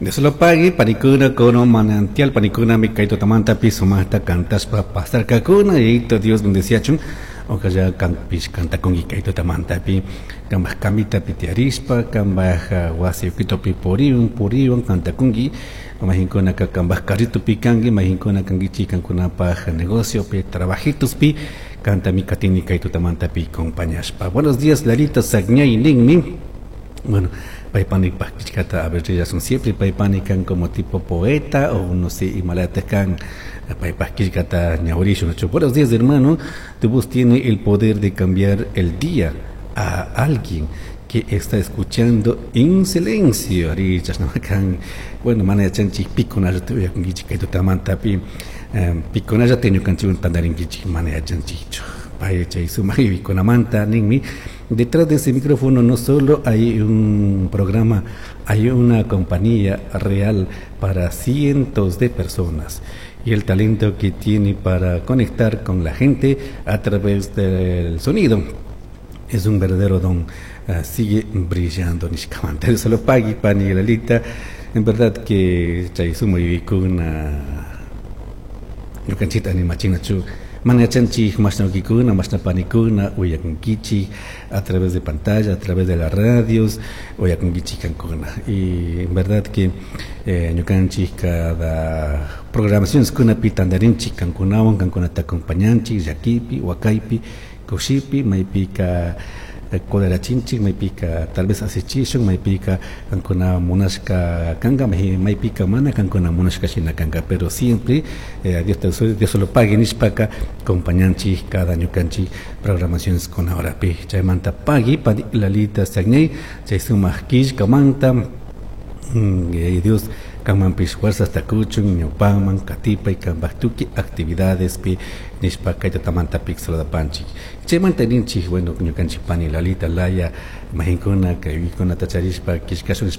Dios lo pague, panikuna kono manantial panikuna mi kay tutamantapi sumaqta cantaspa pasarkakuna y Dios bendeciachun. Ojalá kanpish kantakunki kay tutamantapi kambaj kamitapi tiyarispa kambaj wasi ukitupi puriwan puriwan kantakunki mayqinkunaka kambaj carritupi kanki mayqinkuna kankichik kankunapaj negociopi trabajitospi kantami katini kay tutamantapi acompañashpa. Buenos días, Lalita Sagñay ninmi. Bueno, paypani killkata a ver rillasun siempre paypani kan como tipo poeta o no sé imalata kan paypaj killkata ñawirishun. Buenos días, hermano, tu voz tiene el poder de cambiar el día a alguien que está escuchando en silencio. Ari chashna kan bueno, mana yachanchik pikunallata uyakunkichik kay tutamantapi pikunallata ñukanchikwan tantarinkichik mana yachanchikchu. Pay chay sumaq yuyaykunamanta ninmi. Detrás de ese micrófono no solo hay un programa, hay una compañía real para cientos de personas y el talento que tiene para conectar con la gente a través del sonido es un verdadero don. Sigue brillando nishkamanta. Solo pagui pani Lalita, en verdad que chay sumaq yuyaykuna ñukanchikta animachinachu mana yachanchik mashna wawkikuna mashna panikuna uyakunkichik a través de pantalla, a través de las radios uyakunkichik kankuna y en verdad que ñukanchik cada programaciones kunapi tantarinchik kankunawan kankunata acompañanchik llakipi wakaypi kushipi maypika colerachinchik maypika tal vez asichishun maypika kankuna munashka kanka maypika mana kankuna munashka shina kanka pero siempre Dios te Dios lo pague nishpaka acompañanchik cada ñukanchik programaciones kuna horapi chaymanta pagui pani Lalita Sagnay chay sumaq killkamanta Dios kanmanpish fuerzas takuchun ñawpaman katipay kanpaj tukuy actividadespi nishpa kay tutamantapi saludapanchik chaymanta ninchik bueno ñukanchik pani Lalita laya majinkuna kay uykunata charishpa killkashun.